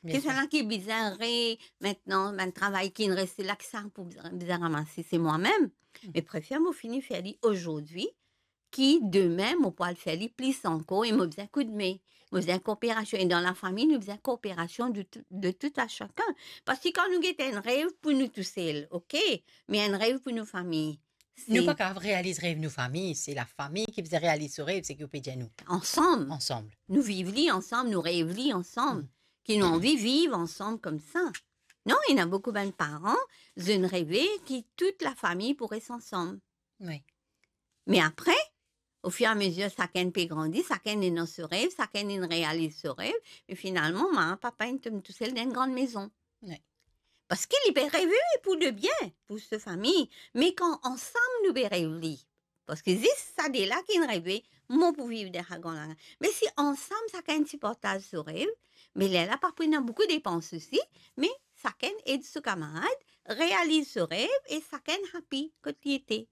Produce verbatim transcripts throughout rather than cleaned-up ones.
Bien sir. Ki sa la ki bizin re, mintnan, bann travay ki inn reste la, ki sa pou bizin, bizin ramase, se mwa mem. Mm. Me prefer mo fini fer li azordi, ki demin mo pou al fer li plis ankor, e mo bizin koudme, mo bizin kooperasion. E dan lafami, nou bizin kooperasion de tou, de tout a sakenn. Parski kan nou get enn rev pou nou tousel, ok, me enn rev pou nou fami, se... Nou pa kapav realiz rev nou fami, se lafami ki bizin realiz so rev, seki ou pe dir nou. Ansam. Ansam. Nou viv li ansam, nou rev li ansam. Mm. Ki nou anvi viv ansam koumsa. Non, ena boukou bann paran, zot inn reve ki tout lafami pou res ansam. Wi. Me apre, ofiramezir sakenn pe grandi, sakenn ena so rev, sakenn inn realiz so rev, me finalman, mama, papa inn tom tousel dan enn gran mezon. Wi. Parski li pe reve pou lebien, pou so fami, me kan ansam nou pe rev li, parski zis sa de la ki inn reve, mo pou viv dan sa gran la. Me si ansam sakenn ti partaz so rev, me lerla pa pou ena boukou depans osi, me sakenn ed so kamarad realiz so rev e sakenn happy kot li ete.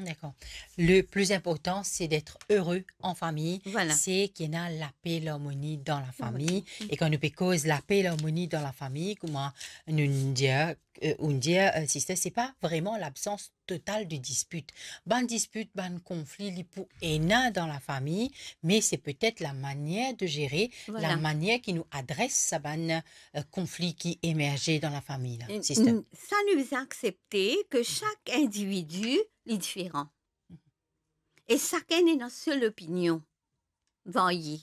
Dakor. Le pli inportan, se d'être heureux en famille. Vwala. Se ki ena lape, larmoni dan lafami. Vwala. E kan nou pe koz lape, larmoni dan lafami, kouma nou dir, euh, ou dir, euh, sister, se pa vreman labsans total de dispit. Bann dispit, bann konfli, li pou ena dan lafami, me se petet la manier de zere, vwala, la manier ki nou adres sa bann, euh, konfli ki emerze dan lafami la, e, sister. N-, sa nou bizin aksepte ki sak individi, li diferan. E sakenn ena so lopinion varye.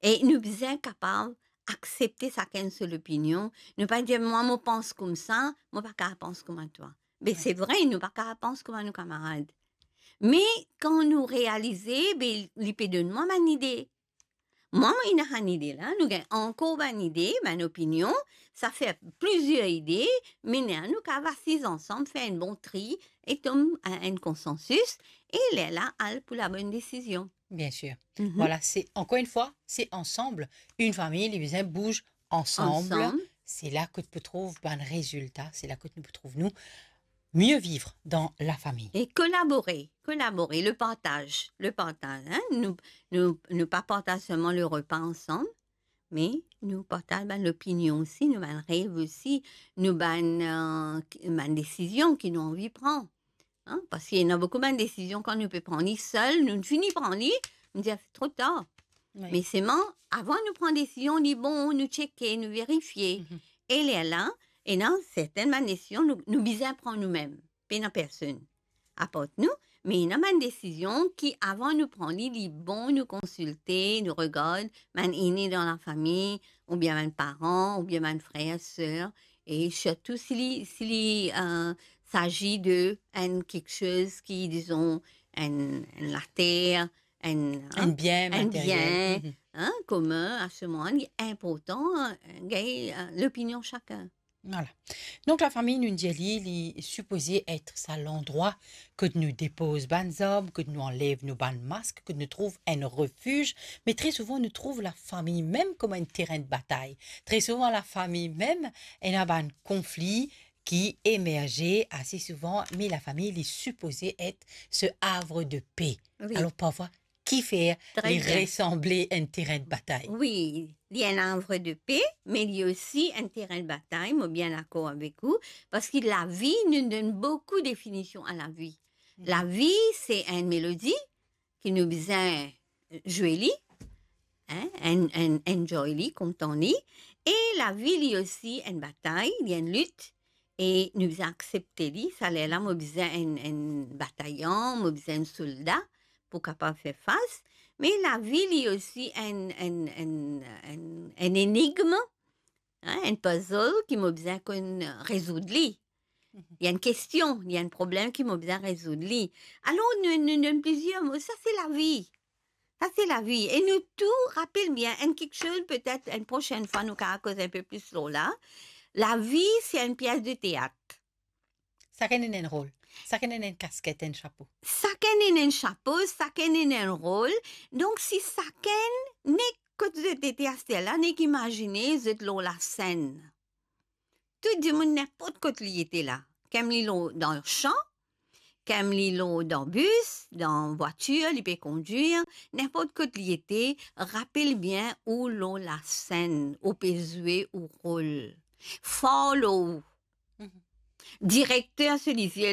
E nou bizin kapav aksepte sakenn so lopinion. Nou pa dir, "Mwa, mo pans koumsa, mo pa kapav pans kouma twa." Be, wi, se vre, nou pa kapav pans kouma nou kamarad. Me kan nou realize, be, li pe donn mwa bann ide. Mwa, mo ena bann ide la, nou gagn ankor bann ide, bann opinion, sa fer plizier ide, me nou kapav asiz ansam, fer enn bon tri, e tom a enn konsansis, e lerla al pou labonn desizion. Bien sir. Mhm. Vwala, se, ankor enn fwa, se ansam. Enn fami, li bizin bouz ansam. Ansam. Se la kot pou trouv bann rezilta, se la kot nou pou trouv nou mieux vivre dans la famille. E kolabore, kolabore, le partaz, le partaz, hein. Nou, nou, nou pa partaz selman le repa ansam, me nou partaz bann lopinion osi, nou bann rev osi, nou bann, euh, bann desizion ki nou anvi pran. Hein? Parski ena boukou bann desizion kan nou pe pran li sel, nou fini pran li, nou dir, "Tro tar." Wi. Me selman, avan nou pran desizion, li bon, nou tcheke, nou verifie. Mhm. E lerla, ena sertenn bann desizion nou, nou bizin pran noumem, pena personn apart nou, me ena bann desizion ki avan nou pran li, li bon nou konsilte, nou regard bann ene dan lafami, oubien bann paran, oubien bann frer, ser, e sirtou si li, si li, euh, s'agit de enn kiksoz ki, dizon, enn, enn later, enn, hein, enn bien, enn materiel, bien, mhm, hein, komin, a se moman, li inportan, hein, gagn, euh, lopinion sakenn. Vwala. Donk, lafami, nou dir li, li sipoze et sa landrwa kot nou depoz bann zarm, kot nou anlev nou bann mask, kot nou trouv enn refiz. Me tre souvan, nou trouv lafami mem kouma enn terin de batay. Tre souvan, lafami mem, ena bann konfli ki emerze ase souvan, me lafami, li sipoze et se havre de pe. Wi. Alor, parfwa, kifer li resanble enn terin de batay? Tre bien. Wi, li enn havre de pe, me li osi enn terin de batay, mo bien dakor avek ou, parski lavi, nou donn boukou definision a lavi. Mhm. Lavi, se enn melodi ki nou bizin zwe li, hein, en-, en-, enjoy li, kontan li, e lavi, li osi enn batay, li enn lit, e nou bizin aksepte li. Sa lerla, mo bizin enn, enn batayan, mo bizin enn solda pou kapav fer fas. Me lavi, li osi enn, enn, enn, enn, enn enigm, hein, enn puzzle ki mo bizin konn rezoud li. Mhm. Li enn kestion, li enn problem ki mo bizin rezoud li. Alor, nou, nou, nou, plizier mo, sa se lavi. Sa se lavi. E nou tou, rapel bien, enn kiksoz, petet enn prosenn fwa, nou kapav koz enn pe plis lor la. Lavi, se enn pies de teat. Sakenn ena enn rol. Sakenn ena enn kasket, enn sapo. Sakenn ena enn sapo, sakenn ena enn rol. Donk, si sakenn, nek kot zot ete aster la, nek imazine zot lor lasenn. Tou dimoun, ninport kot li ete la. Kem li lor, dan san, Kan li lor dan bis, dan vwatir, li pe kondwir, ninport kot li ete, rapel bien ou lor lasenn, ou pe zwe ou rol. Far lor ou. Direkter so lizie